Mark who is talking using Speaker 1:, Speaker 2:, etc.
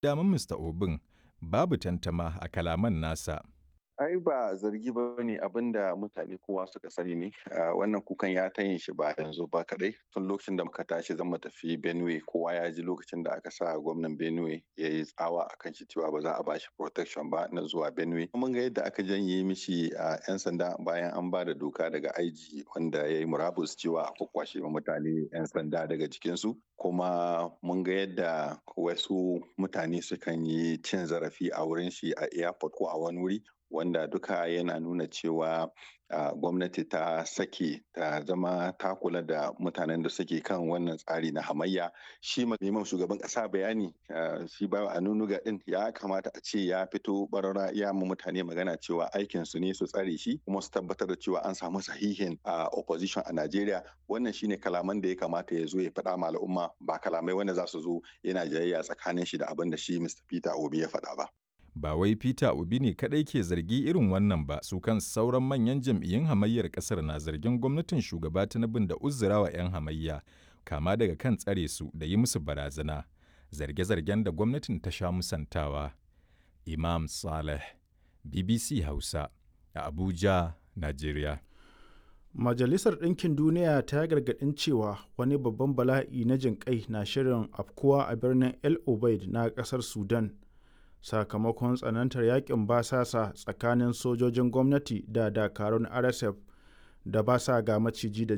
Speaker 1: Daman Mr. Obin babu tantama a kalaman nasa.
Speaker 2: Ai ba zargi ba ne, abin da mutane kowa suka sani ne. Wannan kukan ya ta yin shi ba yanzu ba kadai, tun lokacin da muka tashi zan tafi Benue. Kowa ya ji lokacin da aka sa gwamnan Benue ya yi tsawa akan shi cewa ba za a bashi protection ba na zuwa Benue. Mun ga yadda aka janye mishi a yan sanda bayan an ba da doka daga IG wanda ya yi murabus cewa a kwakwashe mutane yan sanda daga jikinsu. Kuma mun ga yadda wasu mutane sukan yi cin zarafi a wurin shi a airport ko a wani wuri, wanda duka yana nuna cewa gwamnati ta sake ta zama ta kula da mutanen da suke kan wannan tsari na hamayya. Shi neman shugaban kasa bayani, shi ba a nunuga din ya kamata a ce ya fito barara ya mu mutane magana cewa aikin su ne su tsare shi kuma su tabbatar da cewa an samu sahihin opposition a Najeriya. Wannan shine kalaman da ya kamata ya zo ya faɗa ma al'umma, ba kalamai wanda za su zo yana jayayya tsakanin shi da abin da shi Mr. Peter Obi ya faɗa ba.
Speaker 1: Ba wai Peter Obi ne kaɗai ke zargi irin wannan ba, su kan sauran manyan jam'iyyun hamayyar ƙasar na zargin gwamnatin shugaba Tinubu da uzurawa 'yan hamayya, kama daga kan tsare su da yi musu barazana, zarge-zargen da gwamnatin ta sha musantawa. Imam Saleh, BBC Hausa, a Abuja, Najeriya.
Speaker 3: Majalisar Ɗinkin Duniya ta gargaɗin cewa wani babban bala'i na jinƙai na shirin afkuwa a birnin El Obeid na ƙasar Sudan, sakamakon tsanantar yakin basasa tsakanin sojojin gwamnati da dakarun RSF da ba sa ga maciji da